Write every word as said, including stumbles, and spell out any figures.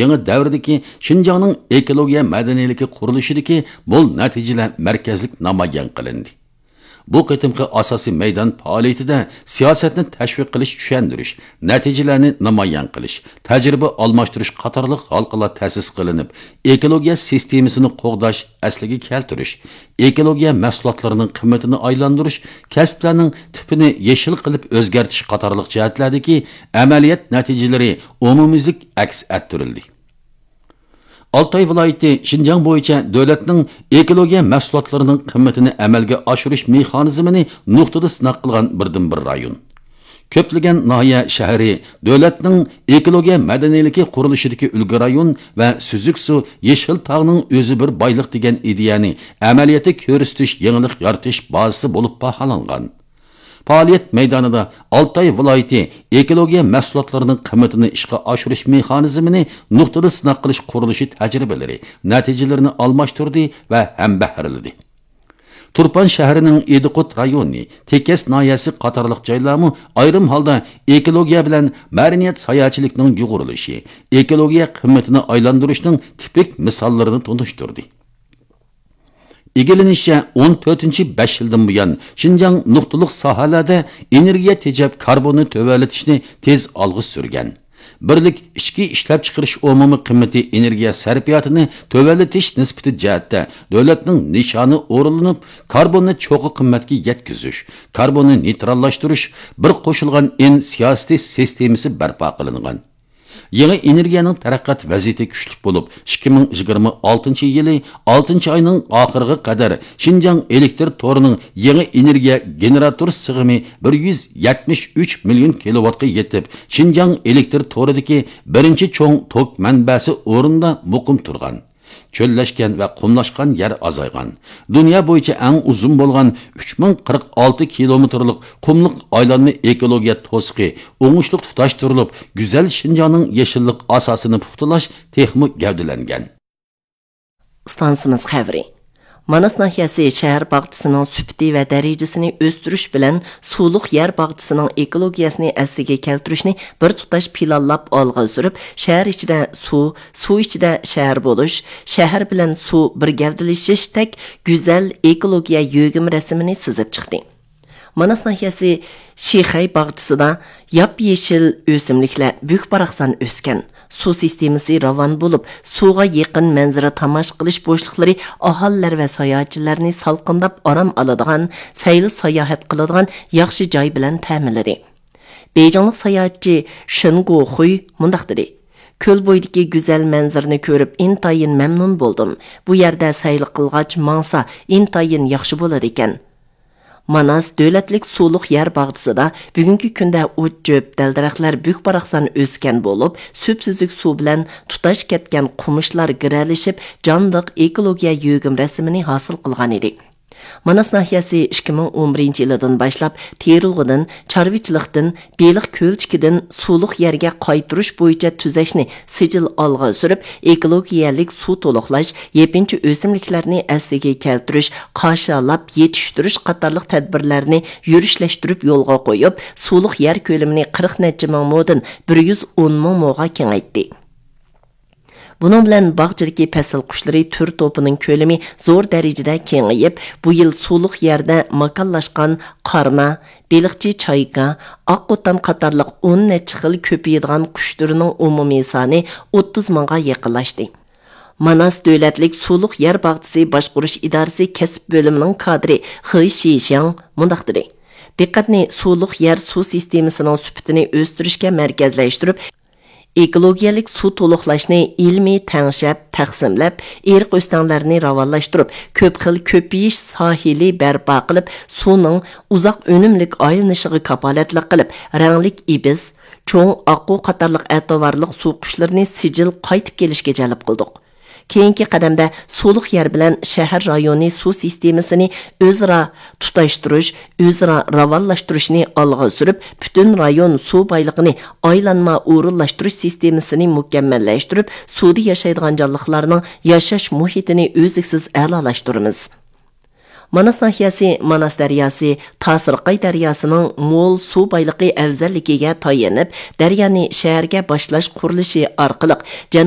يېڭى دەۋردىكى شىنجاڭنىڭ ئېكولوگىيە مەدەنىيلىكى قۇرۇلۇشىدىكى مول نەتىجىلەر مەركەزلىك نامايان قىلىندى. بۇ قېتىمقى ئاساسىي مەيدان پائالىيىتىدە سىياسەتنى تەشۋىق قىلىش، چۈشەندۈرۈش، نەتىجىلەرنى نامايان قىلىش، تەجرىبە ئالماشتۇرۇش قاتارلىق ھالقىلار تەسىس قىلىنىپ، ئېكولوگىيە سىستېمىسىنى قوغداش، ئەسلىگە كەلتۈرۈش، ئېكولوگىيە مەھسۇلاتلىرىنىڭ قىممىتىنى ئايلاندۇرۇش، كەسىپلەرنىڭ تىپىنى يېشىل قىلىپ ئۆزگەرتىش قاتارلىق جەھەتلەردىكى ئەمەلىيەت نەتىجىلىرى ئومۇميۈزلۈك ئەكس ئەتتۈرۈلدى. ئالتاي ۋىلايىتى شىنجاڭ بويىچە دۆلەتنىڭ ئېكولوگىيە مەھسۇلاتلىرىنىڭ قىممىتىنى ئەمەلگە ئاشۇرۇش مېخانىزمىنى نۇقتىدا سىناق قىلغان بىردىنبىر رايون. كۆپلىگەن ناھىيە شەھىرى دۆلەتنىڭ ئېكولوگىيە مەدەنىيلىكى قۇرۇلۇشىدىكى ئۈلگە رايون ۋە سۈزۈك سۇ، يېشىل تاغنىڭ ئۆزى بىر بايلىق دېگەن ئىدىيەنى ئەمەلىيەتتە كۆرسىتىش، يېڭىلىق يارىتىش بازىسى بولۇپ باھالانغان. پائالىيەت مەيدانىدا ئالتاي ۋىلايىتى ئېكولوگىيە مەھسۇلاتلىرىنىڭ قىممىتىنى ئىشقا ئاشۇرۇش مېخانىزمىنى نۇقتىدا سىناق قىلىش قۇرۇلۇشى تەجرىبىلىرى، نەتىجىلىرىنى ئالماشتۇردى ۋە ھەمبەھىرلىدى. تۇرپان شەھىرىنىڭ ئىدىقۇت رايونى، تېكەس ناھىيەسى قاتارلىق جايلارمۇ ئايرىم ھالدا ئېكولوگىيە بىلەن مەدەنىيەت ساياھەتچىلىكنىڭ يۇغۇرۇلۇشى، ئېكولوگىيە قىممىتىنى ئايلاندۇرۇشنىڭ تىپىك مىساللىرىنى تونۇشتۇردى. ئىگىلىنىشىچە، ئون تۆتىنچى بەش يىلدىن بۇيان، شىنجاڭ نۇقتىلىق ساھەلەردە ئېنېرگىيە تېجەپ، كاربوننى تۆۋەنلىتىشنى تېز ئالغا سۈرگەن. بىرلىك ئىچكى ئىشلەپچىقىرىش ئومۇمىي قىممىتى ئېنېرگىيە سەرپىياتىنى تۆۋەنلىتىش نىسبىتى جەھەتتە دۆلەتنىڭ نىشانى ئورۇنلىنىپ، كاربوننى چوققا قىممەتكە يەتكۈزۈش، كاربوننى نېيتراللاشتۇرۇش، بىر قوشۇلغان ئىن سىياسىتى سىستېمىسى بەرپا قىلىنغان. يېڭى ئېنېرگىيەنىڭ تەرەققىيات ۋەزىيىتى كۈچلۈك بولۇپ، ئىككى مىڭ يىگىرمە ئالتىنچى يىلى ئالتىنچى ئاينىڭ ئاخىرىغا قەدەر شىنجاڭ ئېلېكتر تورىنىڭ يېڭى ئېنېرگىيە گېنېراتور سىغىمى بىر يۈز يەتمىش ئۈچ مىليون كىلوۋاتقا يېتىپ، شىنجاڭ ئېلېكتر تورىدىكى بىرىنچى چوڭ توك مەنبەسى ئورنىدا مۇقىم تۇرغان. چۆللەشكەن ۋە قۇملاشقان يەر ئازايغان. دۇنيا بويىچە ئەڭ ئۇزۇن بولغان ئۈچ مىڭ قىرىق ئالتە كىلومېتىرلىق قۇملۇق ئايلانما ئېكولوگىيە توسۇقى ئوڭۇشلۇق تۇتاشتۇرۇلۇپ، گۈزەل شىنجاڭنىڭ يېشىللىق ئاساسىنى پۇختىلاش تېخىمۇ گەۋدىلەنگەن. ئىستانسىمىز خەۋىرى. ماناس ناھىيەسى شەھەر باغچىسىنىڭ سۈپىتى ۋە دەرىجىسىنى ئۆستۈرۈش بىلەن سۇلۇق يەر باغچىسىنىڭ ئېكولوگىيەسىنى ئەسلىگە كەلتۈرۈشنى بىر تۇتاش پىلانلاپ ئالغا سۈرۈپ، شەھەر ئىچىدە سۇ، سۇ ئىچىدە شەھەر بولۇش، شەھەر بىلەن سۇ بىر گەۋدىلىشىشتەك گۈزەل ئېكولوگىيە يۆگىمە رەسىمىنى سىزىپ چىقتى. ماناس ناھىيەسى شىخەي باغچىسىدا ياپيېشىل ئۆسۈملۈكلەر بۈك-باراقسان ئۆسكەن. سۇ سىستېمىسى راۋان بولۇپ، سۇغا يېقىن مەنزىرە تاماشا قىلىش بوشلۇقلىرى ئاھالىلەر ۋە ساياھەتچىلەرنى سالقىنداپ ئارام ئالىدىغان، سەيلە ساياھەت قىلىدىغان ياخشى جاي بىلەن تەمىنلىدى. بېيجىڭلىق ساياھەتچى شېن گوخۇي مۇنداق دېدى: كۆل بويىدىكى گۈزەل مەنزىرىنى كۆرۈپ ئىنتايىن مەمنۇن بولدۇم. بۇ يەردە سەيلە قىلغاچ ماڭسا ئىنتايىن ياخشى بولىدىكەن. ماناس دۆلەتلىك سۇلۇق يەر باغچىسىدا بۈگۈنكى كۈندە ئوت-چۆپ، دەل-دەرەخلەر بۈك-باراقسان ئۆسكەن بولۇپ، سۈپسۈزۈك سۇ بىلەن تۇتاش كەتكەن قومۇشلار گىرەلىشىپ، جانلىق ئېكولوگىيە يۆگىمە رەسىمىنى ھاسىل قىلغانىدى. ماناس ناھىيەسى ئىككى مىڭ ئون بىرىنچى يىلىدىن باشلاپ تېرىلغۇدىن، چارۋىچىلىقتىن، بېلىق كۆلچىكىدىن سۇلۇق يەرگە قايتۇرۇش بويىچە تۈزەشنى سىجىل ئالغا سۈرۈپ، ئېكولوگىيەلىك سۇ تولۇقلاش، يېپىنچا ئۆسۈملۈكلەرنى ئەسلىگە كەلتۈرۈش، قاشالاپ يېتىشتۈرۈش قاتارلىق تەدبىرلەرنى يۈرۈشلەشتۈرۈپ يولغا قويۇپ، سۇلۇق يەر كۆلىمىنى قىرىق نەچچە مىڭ مودىن بىر يۈز ئون مىڭ موغا كېڭەيتتى. بۇنىڭ بىلەن باغچىدىكى پەسىل قۇشلىرى تۈر توپىنىڭ كۆلىمى زور دەرىجىدە كېڭىيىپ، بۇ يىل سۇلۇق يەردە ماكانلاشقان قارنا، بېلىقچى چايكا، ئاق قوتان قاتارلىق ئون نەچچە خىل كۆپىيىدىغان قۇش تۈرىنىڭ ئومۇمىي سانى ئوتتۇز مىڭغا يېقىنلاشتى. ماناس دۆلەتلىك سۇلۇق يەر باغچىسى باشقۇرۇش ئىدارىسى كەسىپ بۆلۈمىنىڭ كادىرى خې شىشياڭ مۇنداق دېدى: دىققەتنى سۇلۇق يەر سۇ سىستېمىسىنىڭ سۈپىتىنى ئۆستۈرۈشكە مەركەزلەشتۈرۈپ، ئېكولوگىيەلىك سۇ تولۇقلاشنى ئىلمىي تەڭشەپ، تەقسىملەپ، ئېرىق ئۆستەڭلەرنى راۋانلاشتۇرۇپ، كۆپ خىل كۆپىيىش ساھىلى بەرپا قىلىپ، سۇنىڭ ئۇزاق ئۈنۈملۈك ئايلىنىشىغا كاپالەتلىك قىلىپ، رەڭلىك ئىبىس، چوڭ ئاققۇ قاتارلىق ئەتىۋارلىق سۇ قۇشلىرىنى سىجىل قايتىپ كېلىشكە جەلپ قىلدۇق. كېيىنكى قەدەمدە سۇلۇق يەر بىلەن شەھەر رايونى سۇ سىستېمىسىنى ئۆزئارا تۇتاشتۇرۇش، ئۆزئارا راۋانلاشتۇرۇشنى ئالغا سۈرۈپ، پۈتۈن رايون سۇ بايلىقىنى ئايلانما ئورۇنلاشتۇرۇش سىستېمىسىنى مۇكەممەللەشتۈرۈپ، سۇدا ياشايدىغان جانلىقلارنىڭ ياشاش مۇھىتىنى ئۈزلۈكسىز ئەلالاشتۇرىمىز. ماناس ناھىيەسى ماناس دەرياسى، تاسىرقاي دەرياسىنىڭ مول سۇ بايلىقى ئەۋزەللىكىگە تايىنىپ، دەريانى شەھەرگە باشلاش قۇرۇلۇشى ئارقىلىق جەنۇب